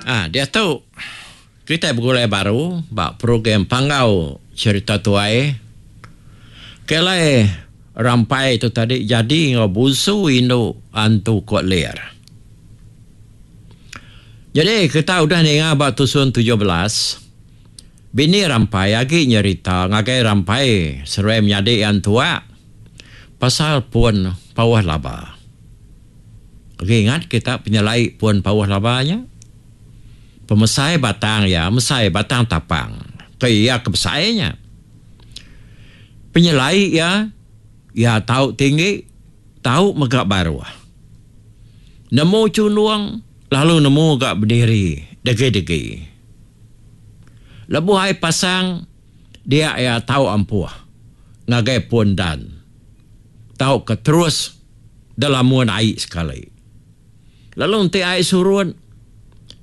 Ah diatu kitai begulai baru ba program Panggau Cherita Tuai ke alai Rampai tu tadi jadi enggau bunsu indu Antu Kok Lir. Jadi kita udah ninga ba tusun 17 bini Rampai agi nyerita ngagai Rampai seruai menyadi iya entua pasal pun Pauh Laba. Agi ingat kita penyelai pun Pauh Laba nya? Pemesai batang iya mesai batang tapang ke iya ke besai nya. Penyelai iya, iya tau tinggi tau mega baruh. Nemu chundung lalu nemu ga bediri degi-degi. Lebuh ai pasang dia iya tau ampuh ngagai pun dan tauka terus delamun ai sekali. Lalu enti ai surut,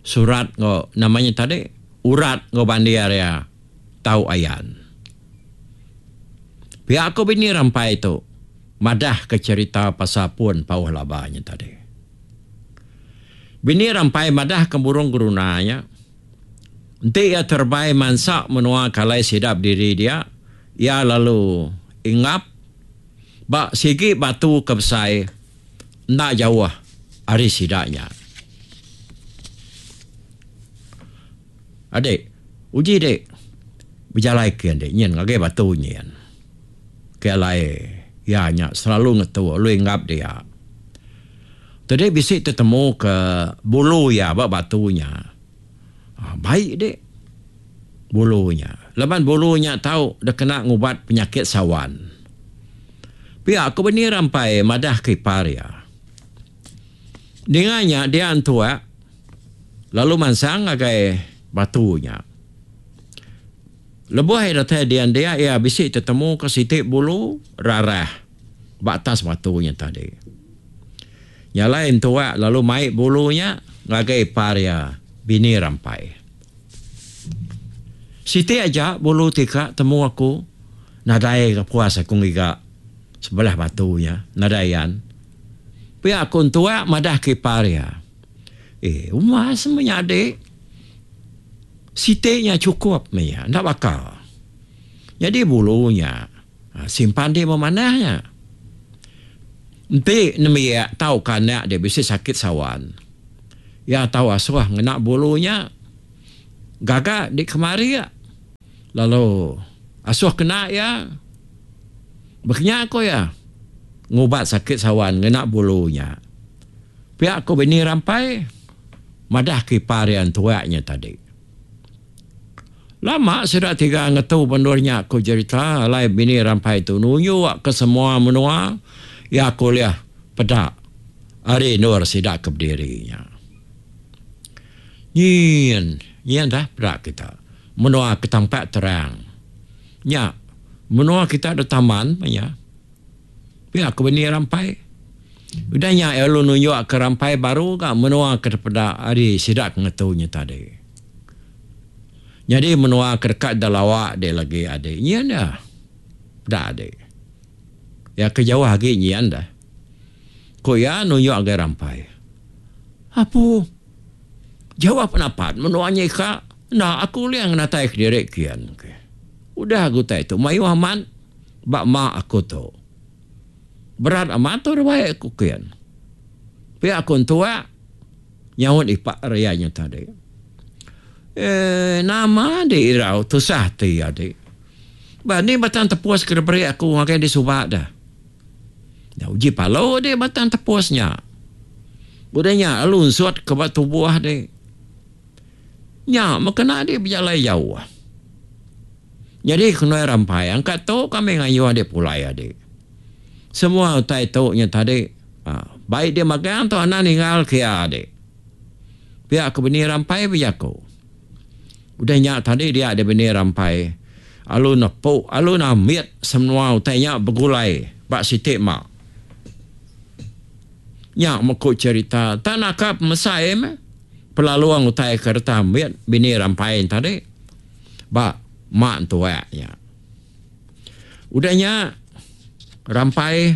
surat enggau nama nya tadi urat enggau bandir iya tau ayan. Pia ku bini Rampai tu madah ke cherita pasal pun Pauh Laba nya tadi. Bini Rampai madah ke burung geruna nya enti iya terebai mansa menua ke alai sida bediri dia, iya lalu ingap ba sigi batu ke besai enda jauh ari sida nya. Adik, uji dik bejalai kin dik nyin ngagai batu nyin. Ke alai iya nya selalu ngetu lalu inggap dia. Tadi bisi tetemu ke bulu iya ba batu nya. Baik dik bulu nya. Laban bulu nya tau dikena ngubat penyakit sawan. Pia ku bini Rampai madah ke ipar iya. Ninga nya dia entua lalu mansang ngagai batu nya. Lebuh iya datai dian dia iya bisi tetemuka siti bulu rarah ba atas batu nya tadi. Nya alai entua lalu mai bulu nya ngagai ipar iya bini Rampai. Siti aja bulu ti ka temu aku nadai ga puas aku ngiga sebelah batu nya nadai ayan. Pia ku entua madah ke ipar iya. Eh umas menyadi siti nya chukup meh iya enda baka. Nyadi bulu nya simpan dih memanah nya. Enti nembiak tauka anak dih bisi sakit sawan iya tau asuh ngena bulu nya gaga dih kemari lalu asuh kena iya. Baka nya ku iya ngubat sakit sawan ngena bulu nya. Pia ku bini Rampai madah ke ipar iya entuak nya tadi. Lama sida tiga ngetu ba endur nya ku jerita alai bini Rampai tu nunjuk ke semua menua iya ke ulih peda ari endur sida ke bediri nya. Nyin, nyin dah peda kita menua ke tampak terang nya menua kita da taman meh nya. Pia ku bini Rampai. Udah nya iya lalu nunjuk ke Rampai baru ga menua ke dipeda ari sida ke ngetu nya tadi. Nyadi menua ke deka da lawa deh lagi adi nyin dah. Peda adi. Iya ke jauh agi nyin dah. Ku iya nunjuk ngagai Rampai. Apu. Jauh penapat menua nya ika enda aku ulih ngenatai kediri kian. Udah ga utai tu mayuh amat. Ba ma aku tu. Berat amat tu ruai aku kin. Pia aku entua nyaut ipak ria nya tadi. Eee nama adi irau tusah ati adi. Ba ni batang tepus ke diberi aku ngagai di suba deh. Nya uji palu adi batang tepus nya. Udah nya lalu unsut ke ba tubuh adi. Nya meh kena adi bejalai jauh. Nyadi kenoi rampai angkat tu kami ngayuh adik pulai adik. Semua utai tu nya tadi baik dia magang tu anang ninggal ke iya adik. Pia ke bini rampai bejaku. Udah nya tadi dia dia bini rampai alu nepu alu nambit semua utai nya begulai ba siti ma. Nya meku cherita tak naka pemesai meh pelalung utai ke reta ambit bini rampai tadi. Ba mak entuak nya. Udah nya Rampai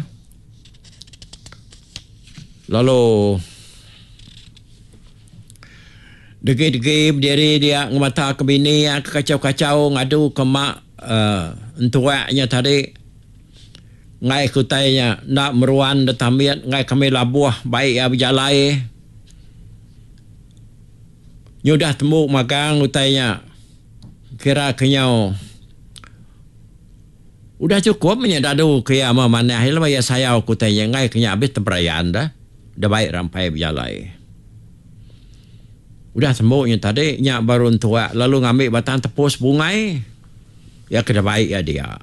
lalu Degi-degi bediri dia ngemata ke bini iya ke kachau-kachau ngadu ke mak entuak nya tadi. Enggai ke utai nya enda meruan da tambit enggai kami labuh bai iya bejalai. Nyudah tembu magang utai nya kira ke nyau udah chukup meh nya dadu ke iya manah iya laban iya sayau ke utai nya enggai ke nya abis teberayan da da bai rampai bejalai. Udah tembu nya tadi nya baru entuak lalu ngambi batang tepus bungai iya ke dibai iya dia.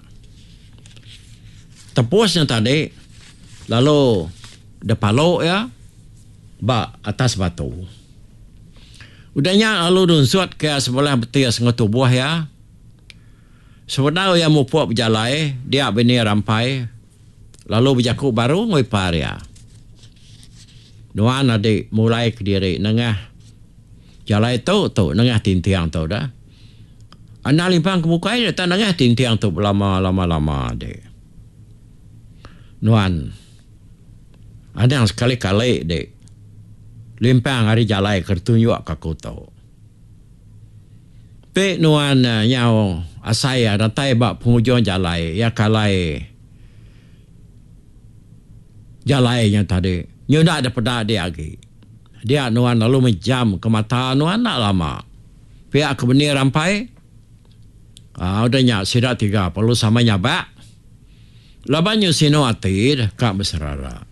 Tepus nya tadi lalu dipalu iya ba atas batu. Udah nya lalu nunsut ke sebelah betis enggau tubuh iya. Sebedau iya mupuk bejalai, dia bini Rampai lalu bejaku baru enggau ipar iya. Nuan adi mulai kediri nengah jalai tu tu nengah tinting tu dah. Anang limpang ke bukai deh tang nengah tinting tu belama lama lama adi. Nuan. Anang sekali-kali dik limpang ari jalai ke ditunjuk ka aku tu. Ti nuan nyau asai datai ba pengujung jalai iya ke alai jalai nya tadi nyuda da peda dik agi. Dia nuan lalu mejam ke mata nuan enda lama. Pia ke benih rampai aaa udah nya sida tiga perlu sama nyabak. Laban nyu sinu ati deka beserara.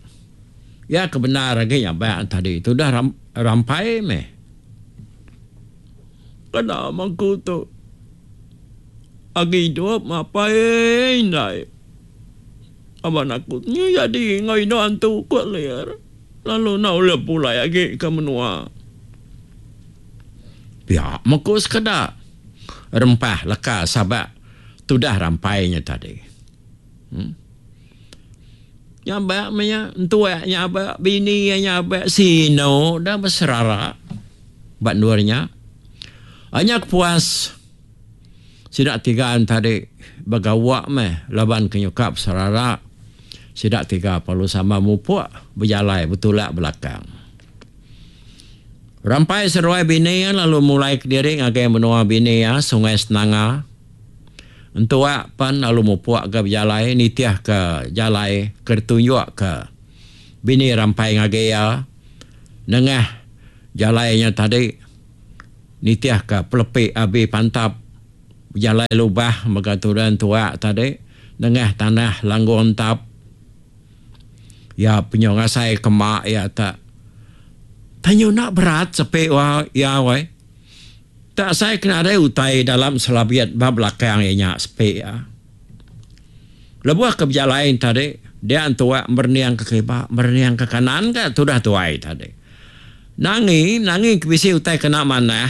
Iya ke bendar agi nyabak tadi tudah rampai meh. Kena mangku tu agi idup apai indai. Laban aku nyu jadi enggau indu antu ku lir lalu enda ulih pulai agi ke menua. Pia meh ku sekeda rempah leka sabak tudah rampai nya tadi. Hmm. Nyabak meh nya, entuak nyabak, bini iya nyabak, sinu dah beserara ba endur nya. Nya kepuas sida tiga tadi begawa meh laban ke nyuka beserara. Sida tiga perlu sama mupuk bejalai betulak belakang. Rampai seduai bini iya lalu mulai kediri ngagai menua bini iya Sungai Senanga. Entua pan lalu mupuk ga bejalai nitih ke jalai ke ditunjuk ke bini Rampai ngagai iya nengah jalai nya tadi nitih ke pelepi abi pantap bejalai lubah mega tudah entua tadi nengah tanah langgung entap. Iya penyu ngasai ke mak iya tak tanyu enda berat sepi wa iya weh. Tak asai ke nadai utai dalam selabit ba belakang iya nya sepi iya. Lebuh ke bejalai tadi, dia entua merening ke kiba, merening ke kanan ga tudah tuai tadi. Nangi, nangi ke bisi utai kena manah,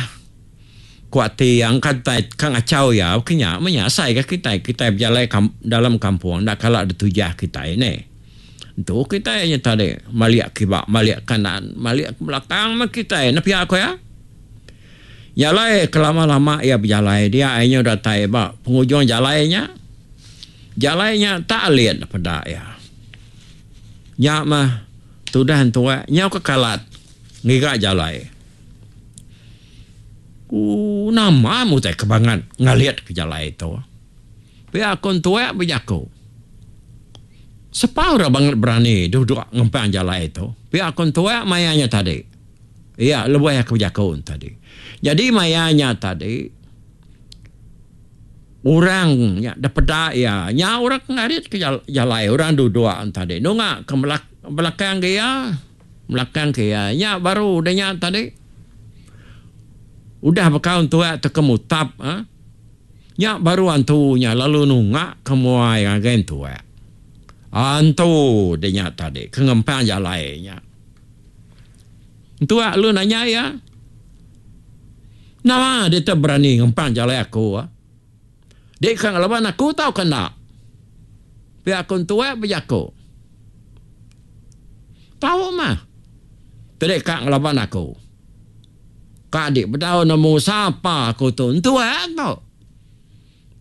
ku ati iya engka utai ka ngachau iya ke nya meh nya asai ga kitai, kitai bejalai dalam kampung enda kala ditujah kitai neh. Entu kitai nya tadi malik kiba, malik kanan, malik ke belakang meh kitai ne pia ku iya. Nya alai kelama-lama iya bejalai dia ai nyu datai ba pengujung jalai nya. Jalai nya tak alit peda iya. Nya mah tudah entua nyau ke kalat ngiga jalai. Ooh nama meh utai ke bangat ngalit ke jalai tu. Pia ku entua bejaku. Sapa orang bangat berani duduk ngempang jalai tu. Pia ku entua maya nya tadi. Iya lebuh iya ke bejaku tadi. Nyadi maya nya tadi orang nya da peda iya nya orang ke ngarit ke jalai orang duduk tadi nunga ke belakang ke iya belakang ke iya nya baru udah nya tadi udah bekaul entua tauka mutap uhh nya baru antu nya lalu nunga ke muai ngagai entua. Antu de nya tadi ke ngempang jalai nya. Entua lalu nanya iya, Nama deka berani ngempang jalai aku? Dek ka ngelaban aku tauka enda? Pia ku entua bejaku. Tau mah dek ka ngelaban aku. Ka dik bedau nemu sapa aku tu entua tu.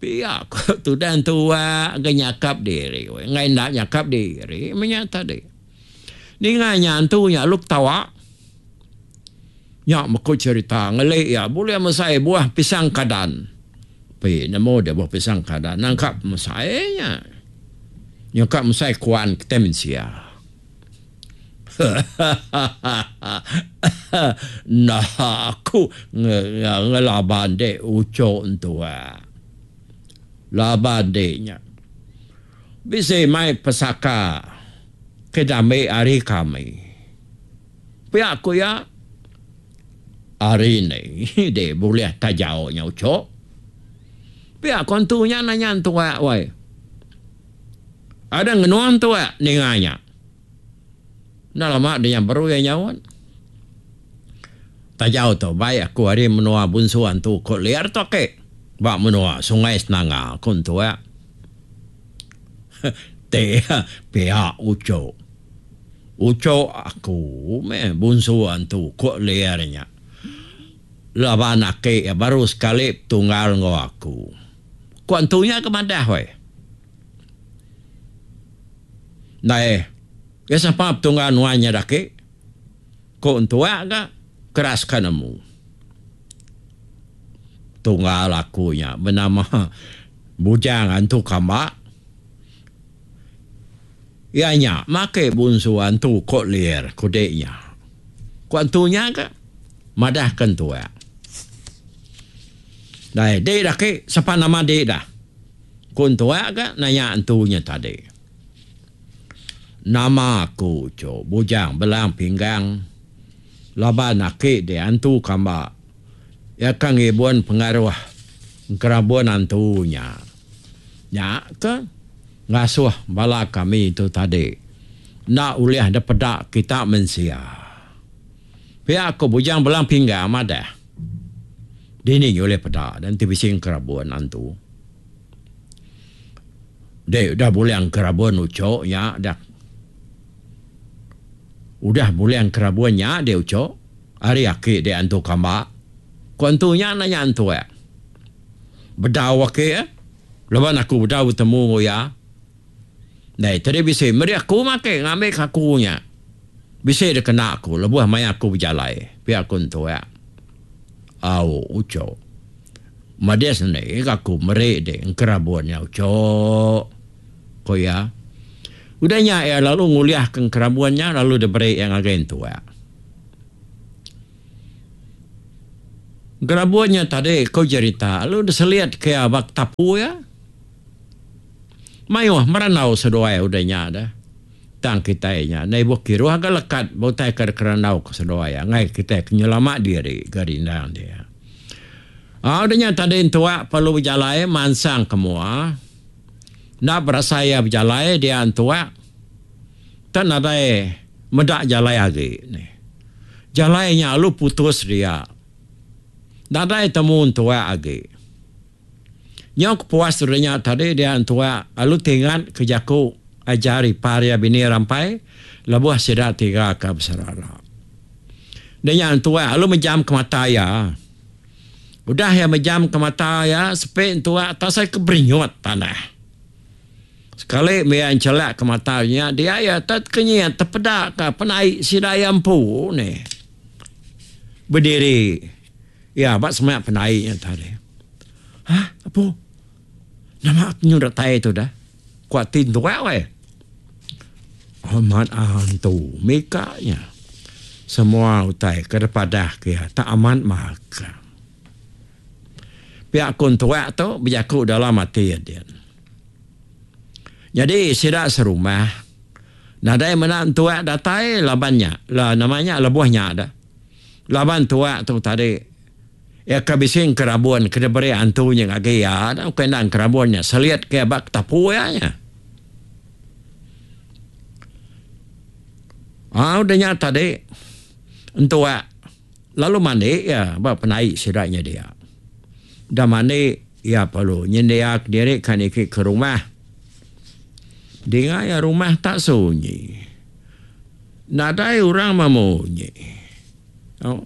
Pia ku tudah entua ga nyakap diri. Enggai enda nyakap diri meh nya tadi. Ninga nya antu nya lalu ketawa. Nya meh ku cherita ngeli iya bulih mesai buah pisang kadan. Pi nemu deh buah pisang kadan nangka pemesai nya. Nyuka mesai kuan kitai mensia. Hahahaha enda aku ngelaban dek ucho entua. Laban dek nya. Bisi mai pesaka ke diambi ari kami. Pia ku iya, Ari ni deh bulih tajau nya ucho. Pia ku antu nya nanya entua wai. Ada ngenung entua ninga nya. Enda lama deh nya baru iya nyaut. Tajau tu bai aku ari menua Bunsu Antu ku Liar tu ake ba menua Sungai Senanga ku entua. Ti pia ucho. Ucho aku meh bunsu antu ku Lier nya. Laban aki iya baru sekali betunggal enggau aku. Ku antu nya ke madah weh. Ndai iya sapa betunggal nuan nya daki? Ku entua ga keras ka nemu. Tunggal aku nya benama Bujang Antu Kamba. Iya nya make bunsu antu ko Lier kudi nya. Ku antu nya ga madah ke entua. Dai di dah ki sapa nama di dah. Ku entua ga nanya antu nya tadi. Nama aku tu Bujang Belang Pinggang laban aki di antu kamba iya ka ngibun pengaruh engkerabun antu nya. Nya ke. Ngasuh bala kami tu tadi enda ulih dipeda kita mensia. Pia ku Bujang Belang Pinggang madah. Dini ulih peda enti bisi engkerabun antu. Dek udah bulih engkerabun ucho nya dah. Udah bulih engkerabun nya dek ucho ari aki dek antu kamba. Ku antu nya nanya antu eh. Bedau aki eh. Laban aku bedau betemu enggau iya. Ndai tadi bisi meri aku make ngambika aku nya bisi dikena aku lebuh maya aku bejalai, pia ku entuak. Au ucho. Medis enda ga aku meri dek engkerabun nya ucho, ku iya. Udah nya iya lalu ngulihka engkerabun nya lalu diberi iya ngagai entuak. Gerabun nya tadi ku jerita lalu diselit ke iya ba tapu iya. Mayuh merandau seduai udah nya deh. Tang kitai nya enda ibuh kiruh ga lekat ba utai ke dikerandau ke seduai iya enggai kitai ke nyelama diri ga rindang dia. Au udah nya tadi entua perlu bejalai mansang ke mua. Enda berasai iya bejalai dia entua tak nadai meda jalai agi nih. Jalai nya alu putus dia. Nadai temu entua agi. Nyau kepuas udah nya tadi dia entua alu tingat ke jaku ajar ipar iya bini Rampai lebuh sida tiga ke beserara. Udah nya entua alu mejam ke mata iya. Udah iya mejam ke mata iya sepi entua tasai ke berinyut tanah. Sekali mih iya enchelak ke mata nya dia iya tekenyit tepeda ka penai sida iya empu nih. Bediri iya ba semak penai nya tadi. Hah apu nama aku nyu datai tu dah ku ati entua weh. Amat antu mika nya semua utai ke dipadah ke iya tak amat maka. Pia ku entua tu bejaku dalam ati iya din. Nyadi sida serumah nadai meda entuak datai laban nya la nama nya lebuh nya da. Laban entuak tu tadi iya ke bisi engkerabun ke diberi antu nya ngagai iya da ukai enda engkerabun nya selit ke ba ketapu iya nya. Aa udah nya tadi entuak lalu mandi iya ba penai sida nya dia. Udah mandi iya perlu nyendia kediri ka niki ke rumah. Dinga iya rumah tak sunyi. Nadai orang memunyi. Au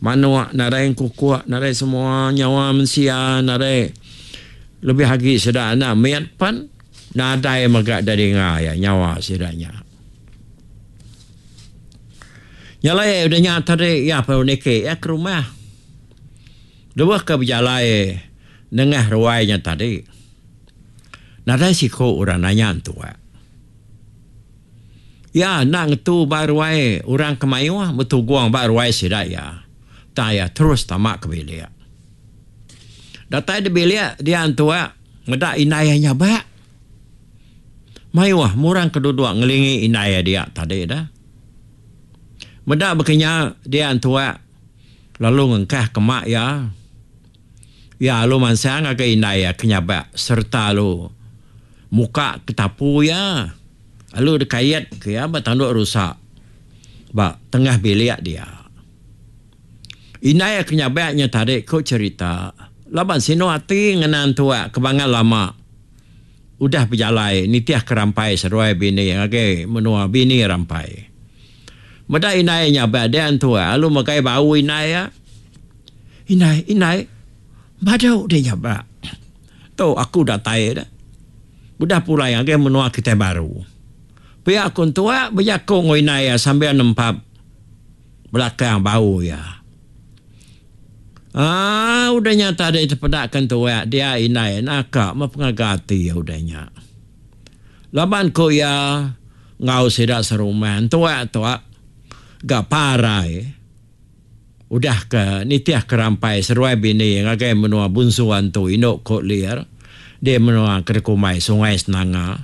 manuk nadai engkukuk nadai semua nyawa mensia nadai lebih agi sida anak mit pen nadai mega da dinga iya nyawa sida nya. Nya alai udah nya tadi iya perlu niki iya ke rumah. Lebuh ke bejalai nengah ruai nya tadi, nadai siku orang nanya entua. Iya enda ngetu ba ruai orang ke mayuh betugung ba ruai sida iya. Tang iya terus tama ke bilik. Datai di bilik dia entua meda indai iya nyabak. Mayuh murang ke duduk ngelingi indai iya dia tadi dah. Meda baka nya dia entua lalu ngengkah ke mak iya. Iya lalu mansang ngagai indai iya ke nyabak sereta lalu muka ketapu iya lalu dikait ke iya ba tanduk rusa ba tengah bilik dia. Indai iya ke nyabak nya tadi ku cherita laban sinu ati ngenang tuak ke bangat lama udah bejalai nitih ke rampai seduai bini ngagai menua bini rampai. Meda indai iya nyabak dia entua lalu megai bau indai iya. Indai, indai, badu deh nyabak. Tu aku datai dah. Udah pulai ngagai menua kitai baru. Pia ku entua bejaku enggau indai iya sambil nempap belakang bau iya. Aaa udah nya tadi tepeda ke entua dia indai naka meh pengaga ati iya udah nya. Laban ku iya enggau sida serumah entua tu ga parai udah ke nitih ke rampai seruai bini ngagai menua Bunsu Antu indu ku Lir di menua ke dikumbai Sungai Senanga.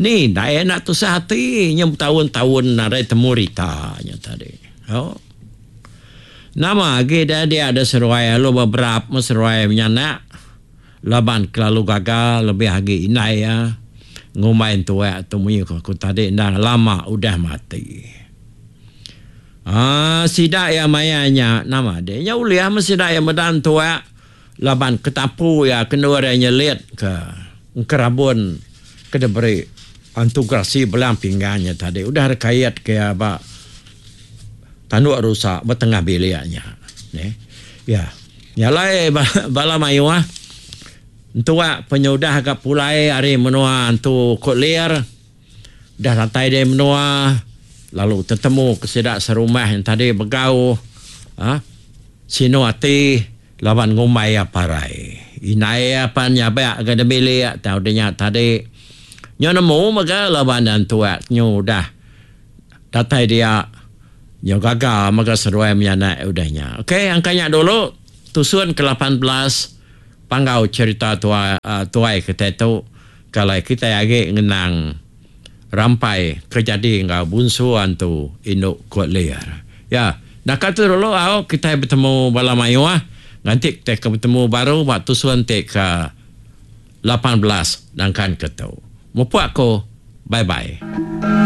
Ni indai enda tusah ati nya betaun-taun nadai temu rita nya tadi. Au. Nama agi deh dia deh seruai lalu beberap meh seruai menyanak laban kelalu gaga lebih agi indai iya ngumbai entuak tu munyi ku aku tadi endang lama udah mati. Aaa sida iya maya nya nama deh nya ulih meh sida iya meda entuak laban ketapu iya ke endur iya nyelit ke engkerabun ke diberi antu gerasi belang pinggang nya tadi udah dikait ke iya ba Tanduk rusa ba tengah bilik nya. Neh. Ya. Nya alai bala mayuh entua penyudah ga pulai ari menua antu Kut Lir udah datai di menua lalu tetemu ke sida serumah nya tadi begau uhh sinu ati laban ngumbai iya parai. Indai iya pan nyabak ga di bilik tang udah nya tadi nyu nemu mega laban entua nyu udah Datai dia, nyau gaga mega seduai menyanak udah nya. Ok, angka nya dulu tusun ke 18 panggau cherita tuai tuai kitai tu ke alai kitai agi ngenang rampai ke jadi enggau bunsu antu indu Kut Lir. Ya, naka tu dulu au kitai betemu bala mayuh nganti kitai ke betemu baru ba tusun ti ke 18 nangkan ke tu. Mupuk aku. Bye bye.